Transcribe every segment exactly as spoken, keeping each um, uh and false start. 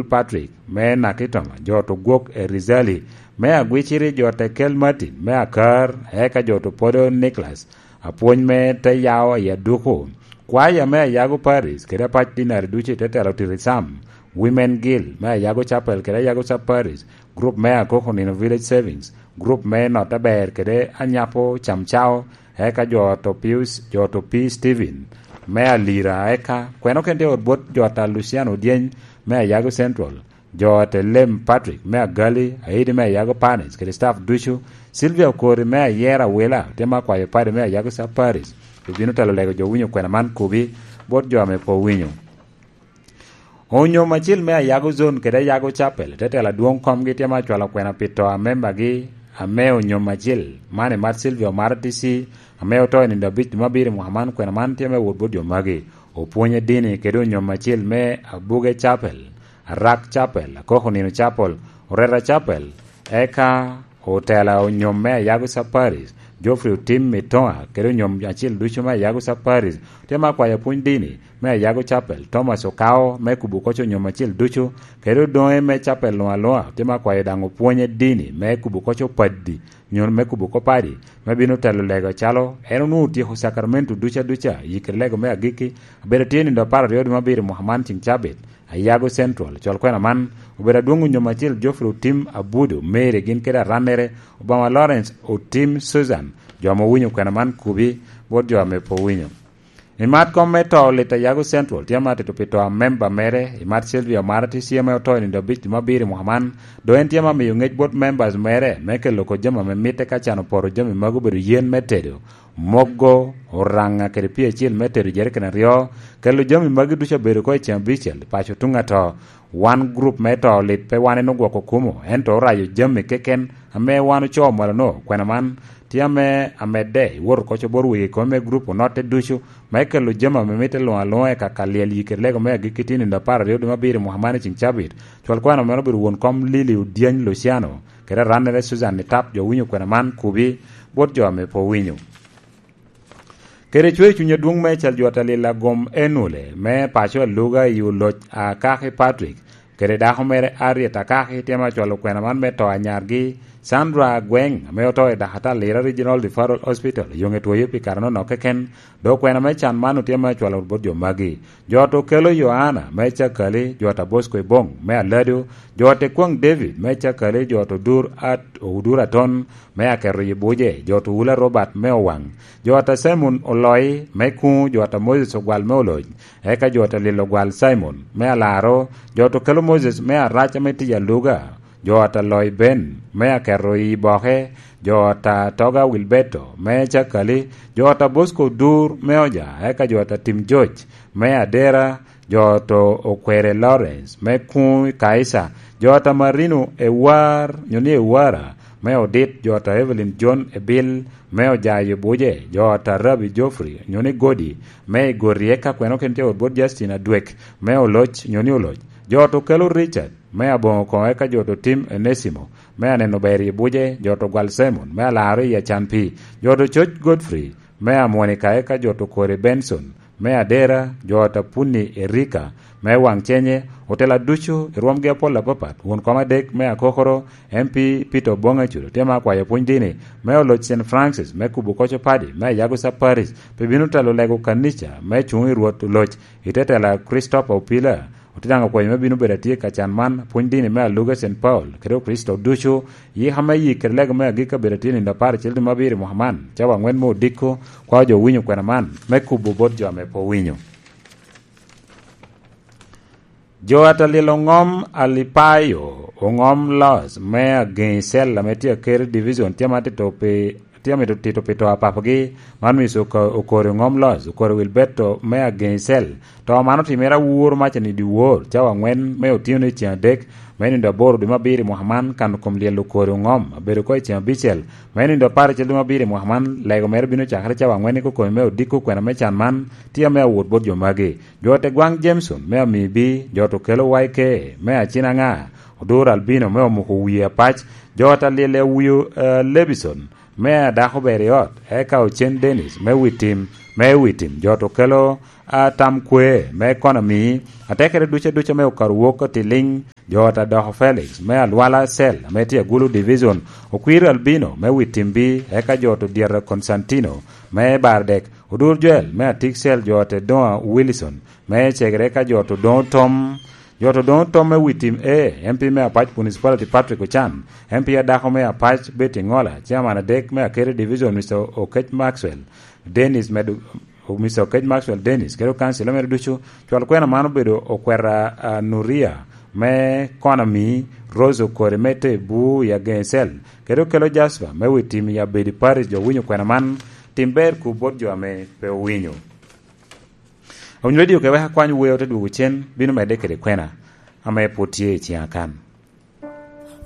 Patrick me Nakitoma, jo to gwok e Rizali me Agwiciri, jo te kel Martin me Akar, eka jo to podo Nicholas apwony me te yao i Aduku, kwaya me Ayago Paris kede apac dinari ducu i te telo Tirisam, Women Guild me Ayago Chapel kede Ayago Sub Paris, group me Akoko Nino Village Savings, group me Notte Ber kede Anyapo Camcao, eka jo to Pius, jo to P Steven me Alira, eka kweno ken tye ot bot jo ta Luciano Odyeny me Ayago Central, jo te Lem Patrick me Agali, Aidi me Ayago Paris kede staff ducu, Sylvia Okori me Ayera Wila, tye ma kwayo padi me Ayago Sub Paris, obino telo lego jo winyo kwena man kubi bot jo ame pe owinyo. Onyom acil me Ayago Zone kede Ayago Chapel, te telo adwoŋ komgi tye ma cwalo kwena pi to a membagi, ame onyom acil man i Mat Silvia Omara T C, ame oto i nino abic dwe me abiro i mwaka man, kwena man tye me wot bot jo magi. Opwonye dini kede onyom acil me Abuge Chapel, Arak Chapel, Akoko Nino Chapel, Oreta Chapel, eka otela onyom me Ayago Sub Paris, Geoffrey Otim Mitoa, kede onyom acil ducu me Ayago Sub Paris, tye ma kwayo pwony dini me Ayago Chapel, Thomas Okao, me kubo koc onyom acil ducu, kede odoŋe me Chapel luŋ aluŋa, tye ma kwayo daŋ opwonye dini me kubo koc opadi, nyo me kubo koc padi, me bino telo lego acalo en onwoŋo otyeko Sacramento duca duca, i kede lego me agikki, abedo tye nindo apar aryo dwe me abiro mwaka man ceng cabit, Ayago Central, col kwena man, obedo adwoŋ onyom acel Geoffrey Otim Abudo, Mary gin kede arannere, Obama Lawrence Otim Susan, jo ame owinyo kwena man kubi, bot jo ame pe owinyo. I mat kom me to lit Ayago Central, tye ma tito pi to a memba mere, i mat Sylvia Omara T C ame oto i nindo abic dwe me abiro i mwaka man, dok en tye ma miyo ngec bot members mere me kelo ko jami ame mitte ka can oporo jami magi obedo yen me tedo, mogo, oraŋa kede pii acel me tedo jerican aryo, kelo jami magi ducu abedo oko i ceng abicel i paco tuŋ ato. Wan gurup me to lit pe wan en ogwoko kumo, ento orayo jami keken ame wan ocoo mwalono. Kwena man tye ame amedde i wot oko cobor wegi i kome me gurup onotte ducu, me kelo jami ame mitte luŋ aluŋa i kaka lyel yikere lego me agikki tye nindo apar aryo dwe me abiro i mwaka man i ceng cabit. Cwal kwena meno obedo won kom Lili Odyany Luciano, kede arannere Susan Nitap, jo winyo kwena man kubi bot jo ame pe owinyo. Kede cwer cuny adwoŋ me cal jwot alil agom Enule me paco aluga i oloc a Kaki Patrick, kede dako mere Harriet Akaki tye ma cwalo kwena man me to a nyargi Sandra Agweng, ame oto i Dakatar Lira Regional Referral Hospital, yoŋe twoyo pi kare nono keken, dok kwena me can man otye ma cwalo bot jo magi. Jo to kelo Yohana me Cakali, jo ta Bosco Ibong me Alado, jo te Kwaŋ David me Cakali, jo to Dur At-, Odur Aton me Aketo Yibuje, jo to Wula Robert me Owaŋ, jo ta Simon Oloi me Kuŋ, jo ta Moses Ogwal me Oloc, eka jo ta Lilo Ogwal Simon me Alaro, jo to kelo Moses me Arac ame Tij Aluga, jo ta Loi Ben me Aketo i Boke, jo ta Toga Wilberto me Cakali, jo ta Bosco Dur me Oja, eka jo ta Tim George me Adera, jo to Okwere Lawrence me Kuŋ i Kaisa, jo ta Marino Ewar, nyo ni Ewara, me Odit, jo ta Evelyn John Ebil me Ojayo Buje, jo ta Rabi Geoffrey, nyo ni Godi, me Igori, eka kweno ken tye ot bot Justin Adwek me Oloc, nyo ni Oloc, jo to kelo Richard me Aboŋo Koŋo, eka jo to Tim Enesimo me Aneno Ber i Buje, jo to Gwal Simon me Alaro i Acan Pii, jo to Coc Godfrey me Amonika, eka jo to Kore Benson me Adera, jo ta Punni Erika me Waŋ Cenye, otela ducu i rwomgi apol apapat, won kom adek me Akokoro, M P Peter Oboŋ Acudo tye ma akwayo pwony dini me Oloc Saint Francis me kubo koco padi me Ayago Sub Parish, pe bino telo lego kanica me cuŋ i Rwot Oloc i te tela Christopher Opila, otye daŋ okwayo me bino bedo atye ka can man, pwony dini me Aluga Saint Paul, kede Okricito ducu, yika me yik kede lego me agikki abedo atye nindo apar acel dwe me abiro i mwaka man, cawa aŋwen me odiko, kwao jo winyo kwena man, me kubo bot jo ame pe owinyo. Jo atalil oŋom Alipayo, oŋom Los me ageŋi cel ame tye Akeri Division, tye ma tito pi, tye mito tito pi to a papagi, man miso Oka-, Okori oŋom Los, Okori Wilberto me ageŋi cel. To man otimere awuro maca ni dyewor, cawa aŋwen me otyeno i ceng adek, me nindo aboro dwe me abiro i mwaka man, kan kom lyel Okori oŋom, abedo oko i ceng abicel, me nindo apar acel dwe me abiro i mwaka man, lego mere bino cakere cawa aŋwen i kokomi me odiko kwena me can man, tye ame awot bot jo magi. Jo te gwaŋ Jameson me Amibi, jo to kelo Y K me Acinaŋa, Odur Albino me Omuko Wie Apac, jo ta Lyel Awio, eh, Lebison me a dako ber i ot, eka Ocen Dennis me Witim, me Witim, jo to kelo a tam kwe me ekonomi, atekere duca duca me okato wok ka tiliŋ, jo ot Adoko Felix me Alwala Cell ame tye Agulu Division, Okwir Albino me Witimbi, eka jo to Dyeta Constantino me Bardek, Odur Joel me Atik Cell, jo ot Edoŋa Wilson me Cegere, eka jo to Doŋ Tom, jo to Doŋ Tom me Witim A, M P me Apac Municipality Patrick Ocan, M P adako me Apac Betty Ŋola, Chairman adek me Akere Division, Mister Okech Maxwell Dennis, medo Mister Okech Maxwell Dennis, kede okancil mere ducu. Cwal kwena man obedo okweta, a, Nuria me Konami, Rose Okori me Tebu i Ageŋ Cell, kede okelo Jasper me Witim i Abedi Parish. Jo winyo kwena man, tim ber ku bot jo ame pe owinyo. Awinyo redio ke wek akwany weo te dwogo cen, bino medde kede kwena ame pwod tye i ciŋa kan.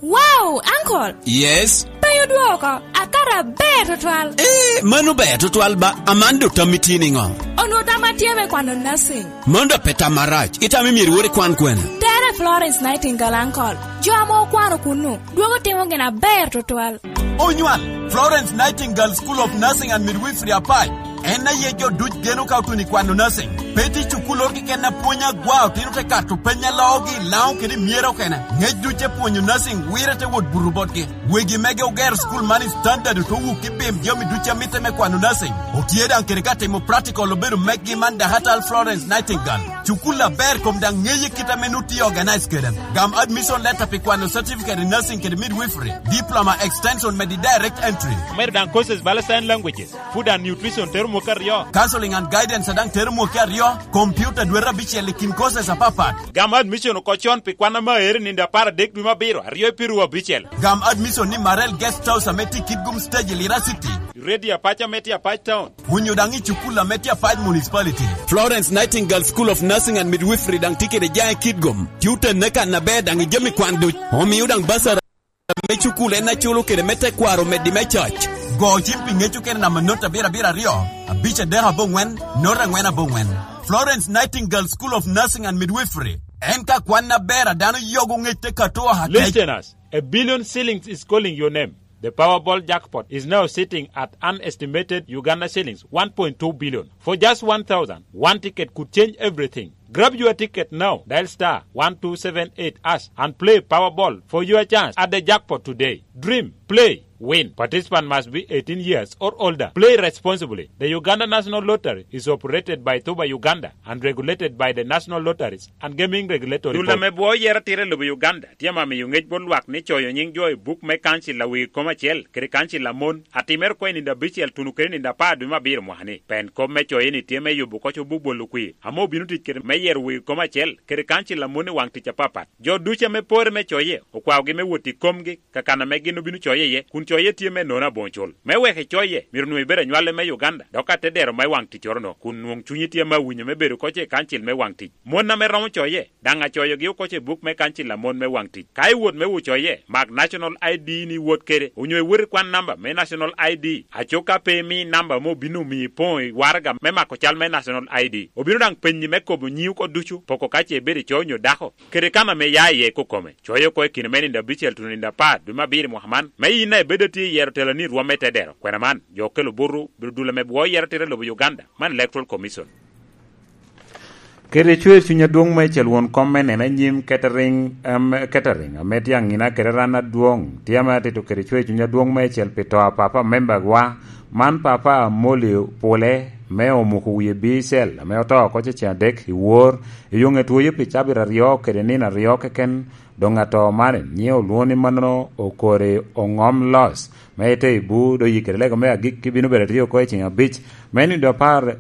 Wow, uncle! Yes? Pe odwoko, akato aber tutwal. Eh, mano ber tutwal ba, aman dok tam itye niŋo? Onwo tam atye me kwano nursing. Mano dok pe tam marac, itamo myero iwor ikwan kwene? Tere Florence Nightingale, uncle. Jo ame okwano kunnu, dwogo timo gin aber tutwal. Onywal, Florence Nightingale School of Nursing and Midwifery Apac. En aye jo duc geno ka otuno i kwano nursing. Pe tye cukul oro keken apwony agwa, otino te kato peny aloogi, Laŋo kede myero okene. Ŋec duc te pwonyo nursing, wire te wot buto botgi. Wegi mege ogero cukul man i standard, ote wuki bim jami duc a mitte me kwano nursing. Otye daŋ kede ka timo practical obedo meggi man Dahatal Florence Nightingale. Cukul aber kom daŋ ŋeye kit ame nut tye organize kede. Gam admission letter pi kwano certificate in nursing kede midwifery, diploma extension medi direct entry. Omedo daŋ courses bala sign languages, food and nutrition tero mwaka aryo. Counseling and guidance a daŋ tero mwaka aryo, computer dwete abicel i kin courses apapat. Gam admission oko con pi kwan ame aero i nino apar adek dwe me abiro, aryo i piru abicel. Gam admission ni Marel Guest House ame tye i Kitgum Stage i Lira City. I Radio Apac ame tye Apac Town. Onyo daŋ i cukul ame tye Apac Municipality. Florence Nightingale School of Nursing and Midwifery daŋ tye kede jaŋ i Kitgum. Tye otenne kan aber daŋ i jami kwan duc. Omio daŋ basara me cukul en aculo kede me tekwaro meddi me coc. Go cim pi ŋec okene namba not abiro abiro aryo, abic adek aboŋwen, not angwen aboŋwen. Florence Nightingale School of Nursing and Midwifery. En ka kwan aber a dano yogo ŋec te kato oha kec. Listeners, a billion shillings is calling your name. The Powerball jackpot is now sitting at an estimated Uganda shillings one point two billion. For just one thousand, one ticket could change everything. Grab your ticket now. Dial star one two seven eight hash and play Powerball for your chance at the jackpot today. Dream, play, win. Participant must be eighteen years or older. Play responsibly. The Uganda National Lottery is operated by Tuba Uganda and regulated by the National Lotteries and Gaming Regulatory Board. Dul ame bwoo yero atira i lobo Uganda tye ame miyo ŋec bot lwak ni coyo nyiŋ jo i buk me kancil a wegi kom acel kede kancil a mon atimere oko i nino abicel tuno kede nino apar dwe me abiro mwaka-ni. Pen kop me coye-ni tye me yubo oko cobo bolo kwir ame obino tic kede me yero wegi kom acel kede kancil a mon i waŋ tic apapat. Jo ducu ame pore me coye okwaogi me wot i komgi ka kan ame gin obino coye iye, kun coye tye me nono aboŋo cul. Me wek icoye, myero onwoŋo ibedo anywale me Uganda, dok ka te dero me waŋ ticcoro-no, kun nwoŋ cunyi tye ame awinyo me bedo oko i kancil me waŋ tic. Mon ame romo coye, daŋ acoyogi oko i buk me kancil a mon me waŋ tic. Ka iwot me wo coye, mak National I D ni iwot kede, onyo iwot i kwan namba me National I D. Aco ka pe imi namba ame obino omiyo ipoŋo i waraga me mako cal me National I D, obino daŋ penyi me kobo nyiŋi oko ducu, poko ka ce ibedo ico onyo dako, kede kan ame ia iye kokome. Coyo oko i kine me nino abicel tuno nino apar dwe me abiro i mwaka man, me in a ibedo atye i yero teloni i rwom me tedero. Kwena man, jo okelo butu, bedo dul ame bwoo yero tira i lobo Uganda, man Electoral Commission. Kede cwer cuny adwoŋ meicel won kom me neno anyim Kettering, em, Kettering, ame tye aŋina kede ran adwoŋ, tye ame atito kede cwer cuny adwoŋ meicel pi to a papa membagwa, man papa Amoli Pule, me omuko wie bicel, ame oto oko cecen adek i wor, i yo ŋe twoyo pi cabit aryo kede nino aryo keken, doŋ ato man nyiŋe olwoŋo ni mannono okori oŋom los, me ite i bu, do yikere lego me agikki bino bedo atye oko i ceŋ abic, me nino apar,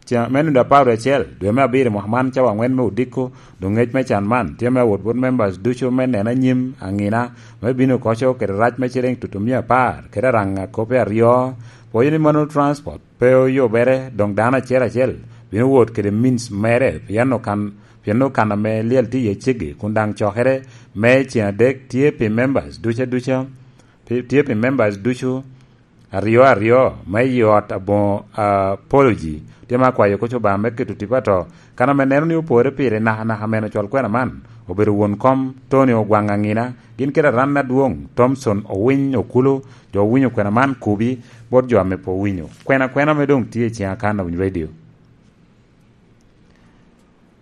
ceŋ, me nino apar wiye acel, dwe me abiro i mwaka man, cawa aŋwen me odiko, doŋ ŋec me can man tye me awot bot members ducu me neno anyim aŋina, me bino koco kede rac me ciliŋ tutumia apar, kede araŋa kope aryo, pwoyo ni mannono transport pe oyubere, doŋ dano acel acel bino wot kede means mere, pien okan, pien okan ame lyel tye iye ceggi, kun daŋ cokere me ceŋ adek tye pi members duca duca, pi, tye pi members ducu aryo aryo me i ot aboŋo, ah, Apology. Tye ma akwayo koc Obaŋa me keto tipo ato, kan ame neno ni opore pire nakanaka meno cwal kwena man, obedo won kom Tony Ogwang Angina, gin kede aran adwoŋ Thomson Owiny Okulu, jo owinyo kwena man kubi bot jo ame pe owinyo. Kwena kwena ame doŋ tye i ciŋ Akan Awiny Radio.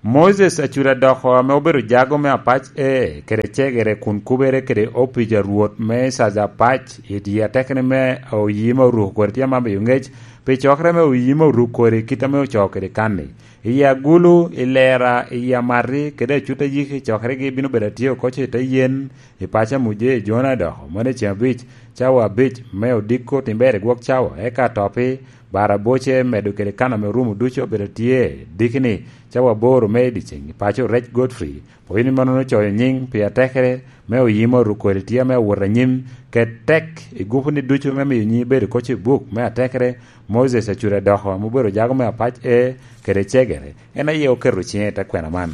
Moses Acuda Doko ame obedo jago me Apac A kede cegere kun kubere kede opic a Rwot me Caja Apac i dye atekere me oyi me oruko kodi tye amam i ŋec pi cokere me oyi me oruko kodi kit ame ocoo kede kan-ni. I Agulu, i Lera, i Amati, kede Acuda Yiki cokeregi bino bedo atye oko i te yen i paco a Muje i Jona Doko, mano i ceŋ abic, cawa abic me odiko, timber i gwok cawa, eka atopi, bara aboce, medo kede kan ame orumo ducu obedo tye, dikini, cawa aboro me i dyeceŋ i paco Rec Godfrey. Pwony ni mannono ocoyo nyiŋ pi atekere me oyimo rukodi tye ame awot anyim, ket tek i gupu ni ducu me miyo nyiŋ bedo koc i buk me atekere, Moses Acuda Doko ame obedo jago me Apac A kede cegere, en aye oketo ciŋe i te kwena man.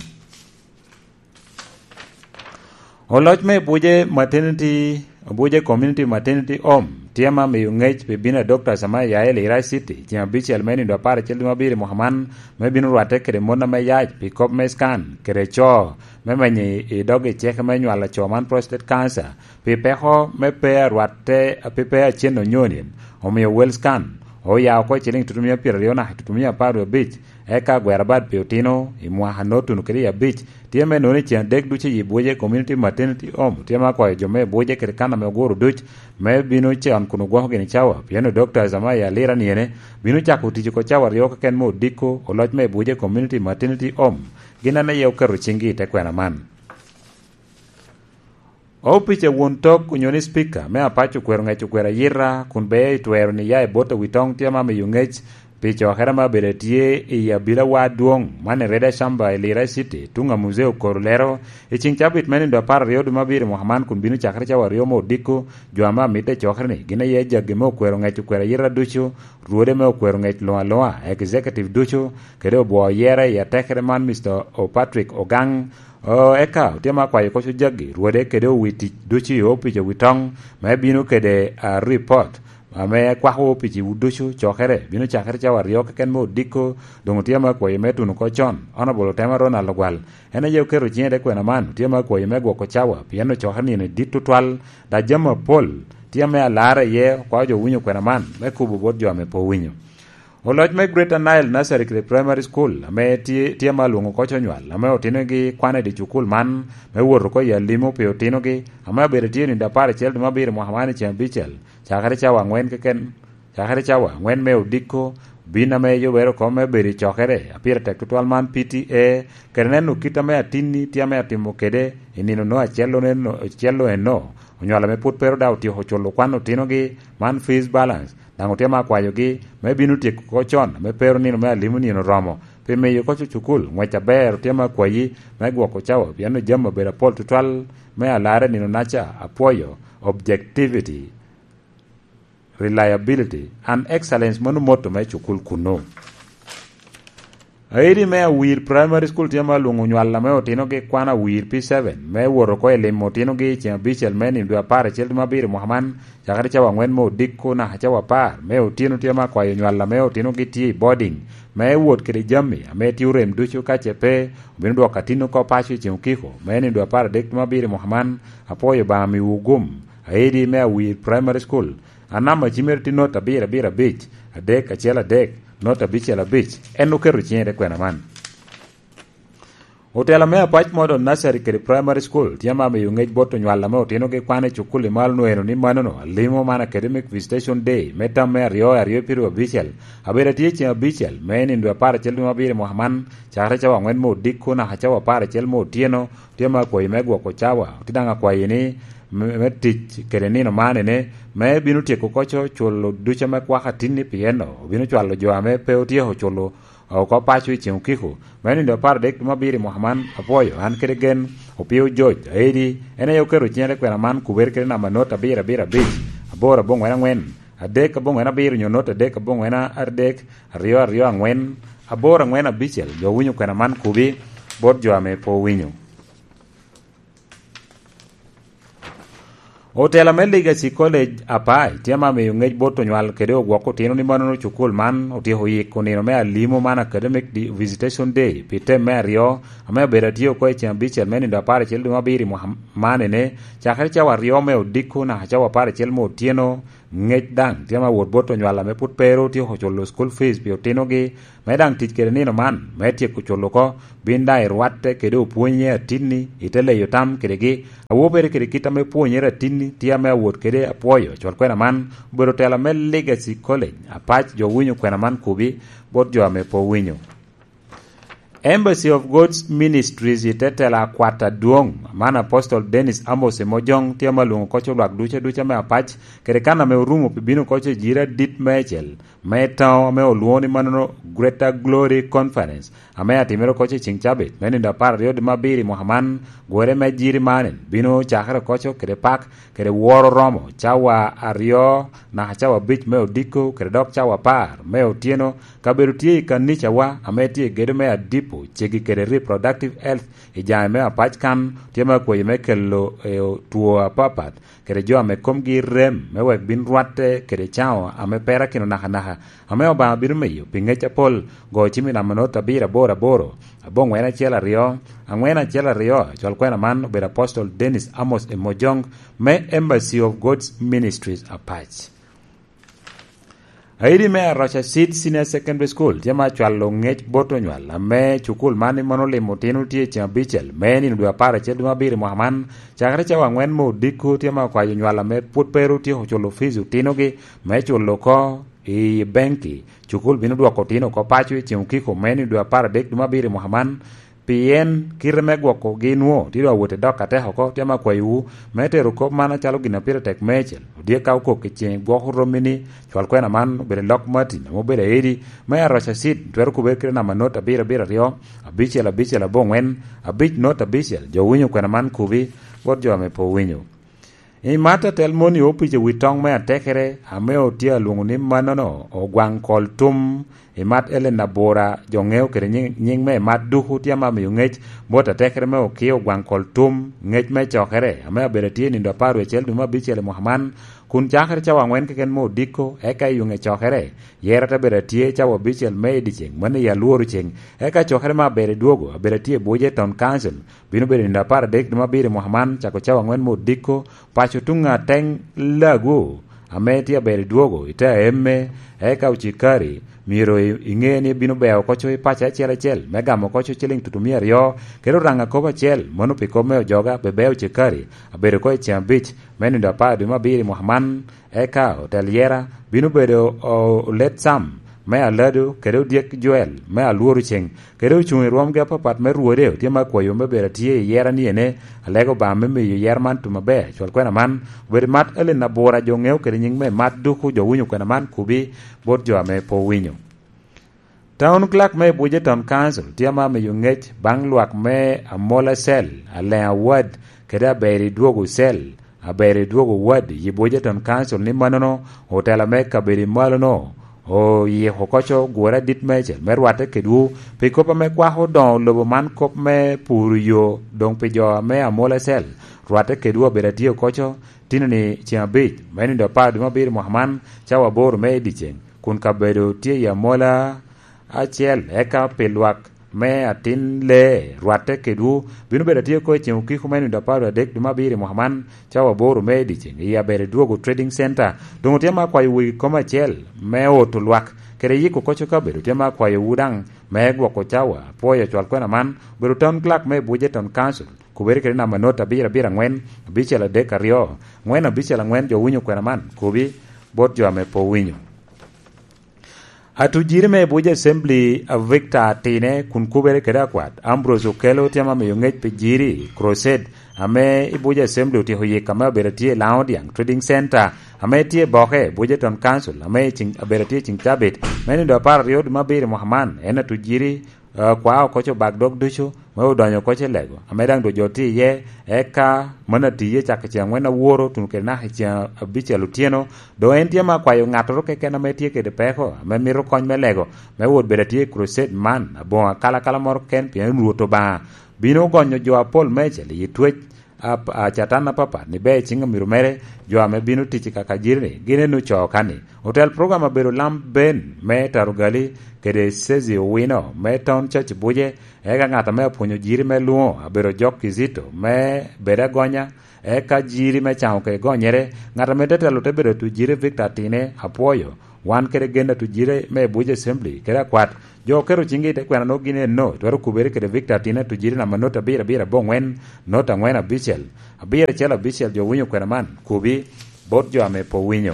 Oloc me Buje Maternity, Buje Community Maternity Home, tye ma miyo ŋec pi bino a Dokta Samaya Yael i Rai City, ceng abicel me nindo apar acel dwe me abiro i mwaka man, me bino rwatte kede mon ame yac pi kop me scan, kede co, me menyo i, i dog i ceke me nywalo co man prostate cancer, pi peko me pe arwatte, pi pe acen onyoni, omio Well Scan, oya oko i ciliŋ tutumia pyeraryo naka tutumia apar wie abic, eka agwero abad pi otino i mwaka a Norton kede i abic, tye me nono i ceng adek ducu i Buje Community Maternity Home, tye me akwayo jo me Buje kede kan ame oguro duc, me bino con kun ogwoko gini cawa, pien o Dokta Zamaya Lira niene, bino cako tic oko cawa aryo keken me odiko, oloc me Buje Community Maternity Home, gin an aye oketo ciŋgi i te kwena man. Opic a won tok onyo ni Speaker me Apac okwero ŋec okwero ayita kun bea i twero ni ya i bot awitoŋ tye ma miyo ŋec pi cokere ma abedo tye i abila wa adwoŋ man i Reda Shamba i Lira City, tuŋ a Muzee Okoro lero, i ciŋ cabit me nindo apar aryo dwe me abiro i mwaka man kun bino cakere cawa aryo me odiko, jo ame amitte i cokere-ni gin aye jaggi me okwero ŋec okwero ayita ducu, rwode me okwero ŋec luŋ aluŋa, executive ducu, kede obwo oyere i atekere man Mister O Patrick Ogang, O, eka otye ma akwayo koc ojaggi, rwode kede owi tic ducu i opic owi toŋ, me bino kede, a, ripot, ame kwako opic i ducu cokere, bino cakere cawa aryo keken me odiko, doŋ otye ma akwayo me tuno oko con, Honorable Otema Ronald Ogwal, en aye oketo ciŋe i te kwena man, otye ma akwayo me gwoko cawa, pien ocokere nino dit tutwal, da jami apol, tye ame alarre iye, okwayo jo winyo kwena man, me kubo bot jo ame pe owinyo. Oloc me Greater Nile Nursery kede Primary School, ame tye, tye ma alwoŋo koc onywal, ame otinogi kwane i dye cukul man, me wot oko i alimo pi otinogi, ame abedo tye nindo apar acel dwe me abiro mwaka man i ceng abicel, cakere cawa aŋwen keken, cakere cawa aŋwen me odiko, bin ame yubere oko me bedo i cokere, a pire tek tutwal man P T A, kede neno kit ame atinni tye ame atimo kede i nino no acel-lo neno, acel-lo eno, onywal ame pwod pe ru daŋ otyeko culo kwan otinogi, man fees balance, daŋ otye ma akwayogi me bino tyeko oko con, ame pe ru nino me alimo nino oromo, pi miyo koc ocukul ŋwec aber. Otye ma akwayi me gwoko cawa, pien ojami obedo apol tutwal me alarre nino-naca, apwoyo, objectivity, reliability, and excellence, mano motto me cukul kunnu. Aidi me Awir Primary School tye ma alwoŋo onywal ame otinogi kwan Awir P seven, me wot oko i limo otinogi i ceng abicel me nino dwe apar acel dwe me abiro mwaka man, cakere cawa aŋwen me odiko naka cawa apar me otyeno. Tye ma akwayo onywal ame otinogi tye i boarding, me wot kede jami ame tye orem ducu, ka ce pe, obino dwoko atin oko paco i ceng okiko, me nino dwe apar adek dwe me abiro mwaka man. Apwoyo Obaŋa miwu gum. Aidi me Awir Primary School, a namba cimere tye not abiro abiro abic, adek acel adek, not abicel abic, en oketo ciŋe i te kwena man. Otela me Apac Model Nursery kede Primary School tye ma miyo ŋec bot onywal ame otinogi kwan i cukul i malo nwoŋo eno ni manono alimo man Academic Visitation Day me tam me aryo aryo pyeraryo abicel, abedo atye ceŋ abicel me nindo apar acel dwe me abiro i mwaka man, cakere cawa aŋwen me odiko naka cawa apar acel me otyeno, tye ma akwayi me gwoko cawa, tye daŋ akwayi ni me, me tic kede nino man ene, me bino tyeko koco culo ducu ame kwaka tinni, pien obino cwalo jo ame pe otyeko culo oko paco i ceŋ okiko. Me nindo apar adek dwe me abiro i mwaka man, apwoyo, an kede gen, Opio George Aedi, en aye oketo ciŋe te kwena man, kubere kede namba not abiro abiro abic, aboro aboŋwen aŋwen, adek aboŋwen abiro nyo not adek aboŋwen adek, aryo aryo aŋwen, aboro aŋwen abicel. Jo winyo kwena man kubi bot jo ame pe owinyo. Otela me Legacy College Apac tye ame amiyo ngec bot onywal kede ogwok otino ni mannono cukul man otyeko yiko nino me alimo man, Academic Di- Visitation Day, pi tem me aryo ame obedo atye oko i ceng abicel me nindo apar acel dwe me abiro i mwaka man ene, cakere cawa aryo me odiko naka cawa apar acel me otyeno. Ngec daŋ tye ame awot bot onywal ame pwod pe ru otyeko culo school fees pi otinogi, me daŋ tic kede nino man me tyeko culo oko. Bin daŋ irwatte kede opwonye atinni, ite leyo tam kedegi. Awobere kede kit ame pwonyere atinni tye ame awot kede apwoyo cwal kwena man. Obedo tela me Legacy College Apac, jo winyo kwena man kubi bot jo ame pe owinyo. Embassy of God's Ministries i te tela akwat adwoŋ man, Apostol Dennis Amos Emojong tye ame alwoŋo koc olwak duca duca me Apac, kede kan ame orumo pi bino koc i jira dit meicel me taŋo ame olwoŋo ni mannono Greater Glory Conference, ame atimere koc i ceng cabit me nindo apar aryo dwe me abiro i mwaka man. Gwere me jiri man bino cakere koco kede pak kede woro romo cawa aryo naka cawa abic me odiko kede dok cawa apar me otyeno. Kabedo tye i kanicawa ame tye i gedo me Adipo cegi kede Reproductive Health i jami me Apac kan tye me akwayo me kelo eh, two apapat kede jo ame komgi rem me wek bin rwatte kede caŋo ame perakino nakanaka, ame Obaŋa bino miyo pi ŋec apol. Go cim i namba not abiro aboro aboro, aboŋwen acel aryo, aŋwen acel aryo. Cwal kwena man obedo Apostol Dennis Amos Emojong me Embassy of God's Ministries Apac. Aidi me Aroca Seed Senior Secondary School tye ma acwalo ŋec bot onywal ame cukul man i mano limo otino tye i ceng abicel me nino dwe apar acel dwe me abiro i mwaka man. Cakere cawa aŋwen me odiko tye ma okwayo onywal ame pwod pe ru tyeko culo fees otinogi me culo oko i benki. Cukul bino dwoko otino oko paco i ceng okiko me nino dwe apar adek dwe me abiro i mwaka man. Pien kite me gwokogi nwo tye doŋ awot i dok atek oko, tye ame akwayowu me tero kop man acalo gin a pire tek meicel. Odyek ka okok i ceng gwoko romi ni, cwal kwena man obedo i lok Martin ame obedo aedi me Aroca Seed, twero kubere kite namba not abiro abiro aryo, abicel abicel aboŋwen, abic not abicel. Jo winyo kwena man kubi bot jo ame pe owinyo. I mat atel moni opic i wi toŋ me atekere ame otye alwoŋo ni mannono Ogwaŋ Kol Tum. I mat Ellen Abura, jo ŋeo kede nyiŋ, nyiŋ me mat duku tye ame amiyo ŋec bot atekere me Okio Ogwaŋ Kol Tum, ŋec me cokere ame abedo atye i nindo apar wecel dwe me abicel i mwaka man, kun cakere cawa aŋwen keken me odiko, eka i yuŋe cokere, yera te bedo atye cawa abicel me i dyeceŋ, mano i alworo ceŋ, eka cokere me abedo i dwogo abedo atye i Buje Town Council, bino bedo nindo apar adek dwe me abiro i mwaka man, cako cawa aŋwen me odiko, paco tuŋ ateŋ lagu ame tye aber i dwogo i te aemme, eka ocikari myero i- iŋe ni bino beo oko co i paco acel acel me gamo oko co ciliŋ tutumia aryo, kede oraŋ akobo acel, mano pi kop me ojoga, bebeo ocikari abedo oko i ceng abic me nindo apar dwe me abiro i mwaka man, eka otel yera bino bedo o- olet Sam me Alado kede odyek Joel me Alworo Ceŋ, kede ocuŋ i rwomgi apapat me rwode, otye me akwayo me bedo atye i yera ni ene, alego Obaŋa me miyo yera man tum aber. Cwal kwena man obedo mat Ellen Abura, jo ŋeo kede nyiŋ me mat duku, jo winyo kwena man kubi bot jo ame pe owinyo. Town Clerk me Buje Town Council tye ame amiyo ŋec baŋ lwak me Amola Cell, Aleŋ Awad, kede Aberi Dwogo Cell, aber i dwogo wad i Buje Town Council ni mannono otela me kabedo i malono oyiko koco gure adit meicel me rwatte kedwu pi kop ame kwako doŋo lobo man, kop me puro yo doŋ pi jo ame Amola Cell rwatte kedwu abedo atye koco tino ni ceng abic me nindo apar dwe me abiro mwaka man, cawa aboro me i dyeceŋ, kun kabedo tye i Amola acel, eka pi lwak me atin lee rwatte kedwu bino bedo atye oko i ceng okiko me nindo apar adek dwe me abiro i mwaka man, cawa aboro me i dyeceŋ, i aber i dwogo Trading Center. Doŋ otye ma akwayo wegi kom acel me oto lwak kede yiko koco kabedo, tye ma akwayowu daŋ me gwoko cawa. Apwoyo cwal kwena man, obedo Town Clerk me Buje Town Council, kubere kede namba not abiro abiro aŋwen, abicel adek aryo, aŋwen abicel aŋwen. Jo winyo kwena man kubi bot jo ame pe owinyo. Atujiri me Abuja Assembly, a Victor Atine, kun kubere kede akwat Ambrose Okello, tye ma miyo ŋec pi jiri, crusade, ame i Abuja Assembly otyeko yik ame obedo tye i Laŋo Diaŋ Trading Center, ame tye i Boke, Abuja Town Council, ame i ceng, obedo tye i ceng cabit me nindo apar aryo dwe me abiro i mwaka man. En atujiri, eh, kwao koco bak dog ducu me odonyo koco i lego, ame daŋ dwe jo tye iye, eka mano atiye cak i ceng aŋwen aworo tuno kede naka i ceng abicel otyeno. Doŋ en tye ma akwayo ŋattoro keken ame tye kede peko, ame mito kony me lego, me wot bedo atye i crusade man, aboŋo akalakala moro ken, pien Rwot Obaŋa bino gonyo jo apol meicel i twec a, a Catan apapat ni ber i ciŋ omiro mere, jo ame bino tic i kaka jiri-ni, gin eno co kan-ni. Otel program abedo Lam Ben me Tarugali kede Sezi Owino me Town Church Buje, eka ŋat ame apwonyo jiri me lwoŋo abedo Jok Kizito me bedo agonya, eka jiri me caŋo kede gonyere, ŋat ame te telo te bedo tu jiri Victor Atine Apwoyo, wan kede gen atu jiri me Buje Assembly kede akwat, jo oketo ciŋgi i te kwena nwogo gin eno, twero kubere kede Victor Atine atu jiri namba not abiro abiro aboŋwen, not aŋwen abicel, abiro acel abicel, jo winyo kwena man, kubi, bot jo ame pe owinyo.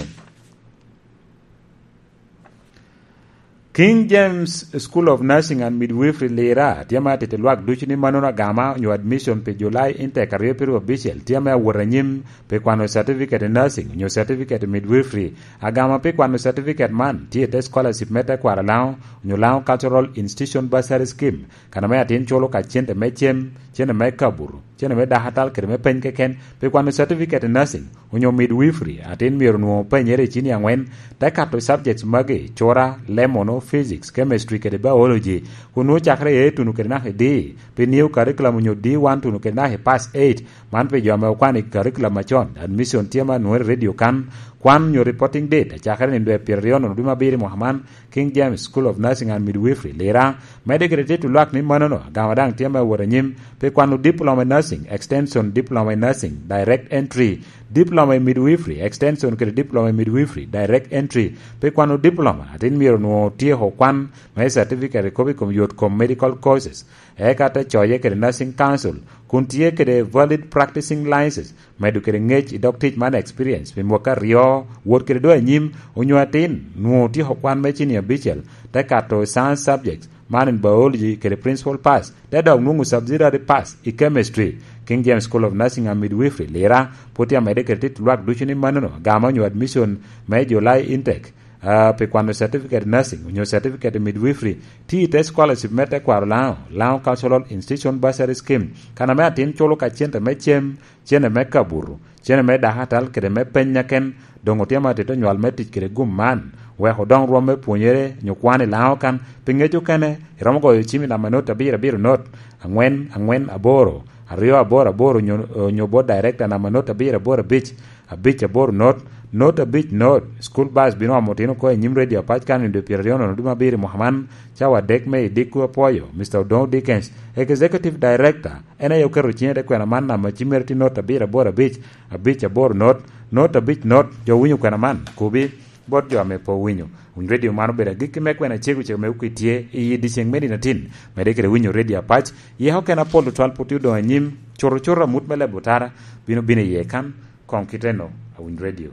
King James School of Nursing and Midwifery Lira tye ame atito lwak ducu ni mannono agama onyo admission pi July intake aryo piryo abicel tye ame awot anyim pi kwano certificate in nursing onyo certificate in midwifery. Agama pi kwano certificate man tye i te scholarship me tekwaro Lango onyo Lango Cultural Institution Bursary Scheme, kan ame atin culo ka cente me cem, cente me kaburu, cente me dakatal kede me peny keken pi kwano certificate in nursing onyo midwifery. Atin myero onwoŋo penyere i cini aŋwen, te kato subjects magi, cura, lemono, physics, chemistry kede biology, kun nwoŋo cakere i A tuno kede naka i D, pi new curriculum onyo D one tuno kede naka i pass eight, man pi jo ame okwano i curriculum acon. Admission tye ma nwoŋere i radio kan, kwan onyo reporting date acakere nino dwe pyeraryo nono dwe me abiro i mwaka man, King James School of Nursing and Midwifery, Lira, medde kede tito lwak ni mannono, agama daŋ tye me wot anyim pi kwano diploma in nursing, extension diploma in nursing, direct entry, diploma in midwifery, extension kede diploma in midwifery, direct entry, pi kwano diploma, atin myero onwoŋo otyeko kwan me certificate i kop i kom yot kom medical courses, eka te coye kede Nursing Council, kun tye kede valid practicing license, medo kede ŋec i dog tic man experience pi mwaka aryo, wot kede doŋ anyim, onyo atin nwoŋo otyeko kwan me cini abicel, te kato i science subjects, man in biology kede principal pass, te dok nwoŋo subsidiary pass i chemistry. King James School of Nursing and Midwifery, Lira, pwod tye amedde kede tito lwak ducu ni mannono, agama onyo admission me July intake, ah, pi kwano certificate nursing onyo certificate midwifery, tye i te scholarship me tekwaro Lango, Lango Cultural Institution Bursary Scheme, kan ame atin culo ka cente me cem, cene me kabuto, cene me dakatal kede me peny aken, doŋ otye ma atito nywal me tic kede gum man, wek odoŋ rwom me pwonyere nyo kwan i Lango kan. Pi ŋec okene, iromo goyo cim i namba not abiro abiro not, aŋwen aŋwen aboro, aryo aboro aboro nyo, nyo bot director namba not abiro aboro abic, abic aboro not, not abic not. School bus bino omo otino oko i nyim Radio Apac kan i dwe pyeraryo nono dwe me abiro i mwaka man, cawa adek me i dikku. Apwoyo Mister Odongo Dickens, Executive Director, en aye oketo ciŋe te kwena man namba cimmere tye not abiro aboro abic, abic aboro not, not abic not. Jo winyo kwena man, kubi bot jo ame pe owinyo. Winy Radio man obedo agikki me kwena cego cego me okwi tye i yi dyeceŋ me nino atin, medde kede winyo Radio Apac, yeko kena pol tutwal pwod tye odoŋ anyim, cuto cuto amut me lebo tara bino bino iye kan, koŋ kite no, Awiny Radio.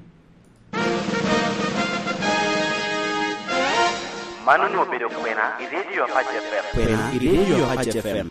Man onwoŋo obedo kwena i Radio Apac F M. Kwena i Radio Apac F M.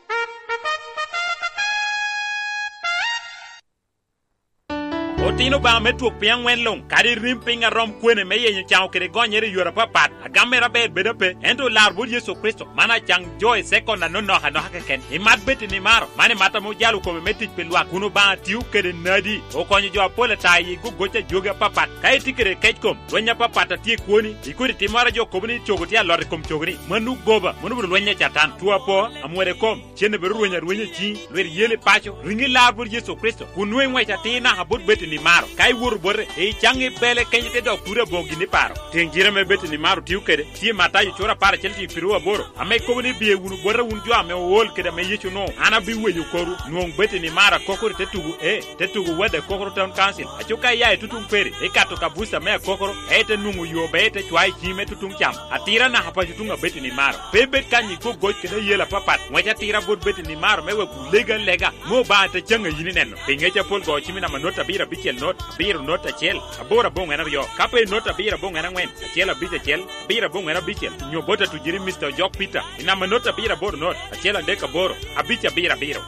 Otino Obaŋa me twok piny aŋwen luŋ, kadi rim piny a rom kwene me yenyo caŋo kede gonyere i yore apapat, agam mere aber bedo ape, ento olar bot Yecu Kricito, man acaŋ jo i sekon anonok anoka keken. Imat bed i nimaro, man imat ame ojalo kome me tic pi lwak, kun Obaŋa tio kede nadi, okonyo jo apol ata i gogoc a jogi apapat. Ka itye kede kec kom, lweny apapat a tye i kwoni, i kodi timmoro a jo kobo ni cogo tye alot i kom cogoni, mano goba, mano obedo lweny a Catan. Two apo, amwode kom, cen obedo rweny arwenya i ciŋi, lwit yel i paco, riŋi lar bot Yecu Kricito, kun nwoŋo iŋwec atir naka bot bed i nimaro. Ka iwoto bote, icaŋ i bele kenyo te dok kuri aboŋo gin i paro. Tiŋ jire me bed i nimaro tio kede, tye Matayo cura apar acel tiŋ piru aboro, ame kobo ni, "Biye wunu bota wun jo ame ool kede ame Yecu onwoŋo, an abiweyo korwu." Nwoŋ bed i nimaro akokoro i te tugo, e, te tugo Wad Akokoro Town Council. Aco ka iya i tutuŋ peri, ikato ka buca me akokoro, ka ite nwoŋo yo, be ite cwayo i ciŋi me tutuŋ cam. Atira naka paco tuŋ abed i nimaro. Pe ibed kany i gogoc kede ayel apapat. Ŋwec atira bot bed i nimaro me wek wulego alega, me Obaŋa te caŋ a yin ineno. Pi ŋec apol go cim i namba not abiro abicel not, abiro not acel, aboro aboŋwen aryo. Ka pe i not abiro aboŋwen aŋwen, acel abic acel, abiro aboŋwen abicel, nyo bot atujiri Mister Ojok Peter, i namba not abiro aboro not, acel adek aboro, abic abiro abiro.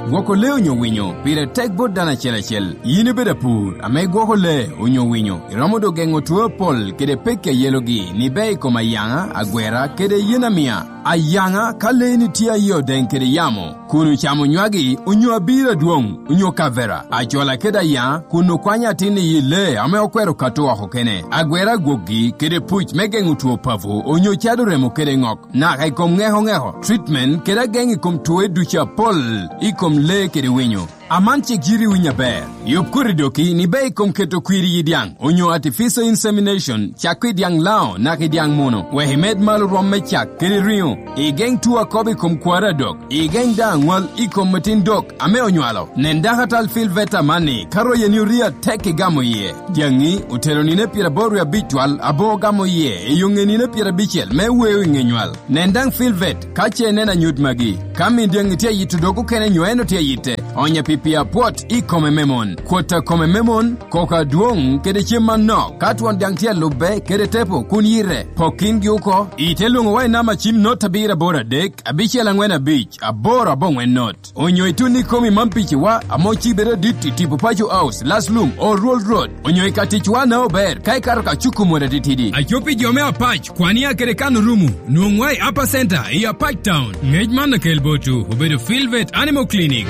Gwoko lee onyo winyo pire tek bot dano acel acel. Yin ibedo apur ame igwoko lee onyo winyo, iromo doŋ geŋo two apol kede pekki a yelogi ni ber i kom ayaŋa, agwera, kede yen amia. Ayaŋa ka leeni tye aye odeŋ kede yamo, kun ocamo nywagi, onyo abiro adwoŋ, onyo kavera, acola kede ayaŋa, kun okwanyo atin i yi lee ame okwero kato oko kene, agwera agwokgi, kede puc me geŋo two papo, onyo cado remo kede ŋok, naka i kom ŋeko ŋeko, treatment, kede ageŋ i kom twoe ducu apol, i kom lee kede winyo. Aman cik yiri winyo aber. Yub koti doki ni be i kom keto kwir i dyaŋ, onyo artificial insemination, cak i dyaŋ lao, naka i dyaŋ muno, wek imed malo rwom me cak kede riŋo. Igeŋ two akobo i kom kwaro adok. Igeŋ daŋ aŋwal i kom atin dok ame onywalo. Nen dakatal Phil Veta amanni, ka royeni orie atek igamo iye. Dyaŋi otero nino pyeraboro wie abic twal, abo ogamo iye, i oŋe nino pyerabicel me weo i ŋe nywal. Nen daŋ Phil Vet, ka ce ineno anyut magi. Ka min dyaŋi tye ayito dog okene nyo en otye ayitte, onye pi pii apwot i kome me mon. Kwot a kome me mon, koko adwoŋ, kede cem manok. Ka twon dyaŋ tye alubbe, kede tepo, kun yite, pok kingi oko. Ite lwoŋo wa i namba cim not abiro aboro adek, abicel aŋwen abic, aboro aboŋwen not. Onyo itun i komi man piciwa, ame ocibe adit i tipo Paco House, Last Lum, Old Road, onyo i ka ticwa na ober, ka ikato ka cuku mot atitidi. Aco pi jo me Apac, kwan ya kede kan orumo, nwoŋwa i Upper Center, i Apac Town. Ngec man okel botwu, obedo Phil Vet Animal Clinic.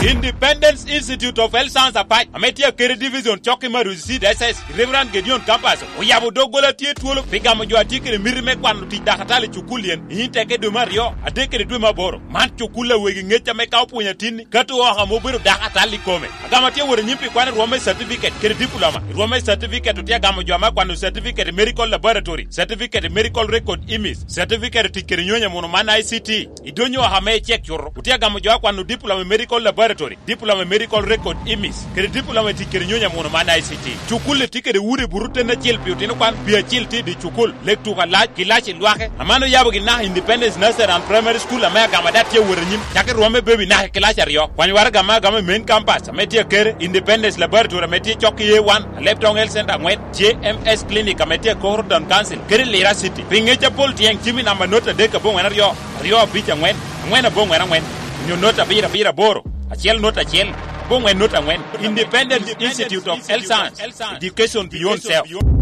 Independence Institute of Health Science Apac, ame tye akede division cok i Maruzi Seed S S, Reverend Gideon Campus, oyabo doggola tye twolo pi gamo jo a tye kede miti me kwano tic dakatal i cukul yen, i Inteke dwe me aryo, adek kede dwe me aboro. Man cukul a wegi ŋec ame ka opwonyo atinni, ka to oko ame obedo dakatal i kome. Agamo tye wot anyim pi kwano rwom me certificate kede diploma. I rwom me certificate otye agamo jo ame akwano certificate i medical laboratory, certificate i medical record image, certificate i tic kede nyonyo muno man I C T. I donyo oko ame icek cuto, otye agamo jo akwano diploma i medical laboratory, diploma i medical record image, kede diploma i tic kede nyonyo muno man I C T. Cukul-li tye kede udi buto ten acel pi otino kwan, pi acel tye i dye cukul, lek tuko alac, gilac i lwake. Aman oyabo gin naka Independence Nursery and Primary School ame agamo ada tye awot anyim, cako i rwom me baby naka i kilac aryo. Kwany waraga ame agamo i main campus ame tye akere, Independence Laboratory ame tye cok i A one, Alebtong Health Center aŋwen, J M S Clinic ame tye i Koro Town Council, kede Lira City. Pi ŋec apol tyeng cim i namba not adek aboŋwen aryo, aryo abic aŋwen, aŋwen aboŋwen aŋwen, onyo not abiro abiro aboro, acel not acel, aboŋwen not aŋwen. Independence Institute of Health Science, Education Beyond Self.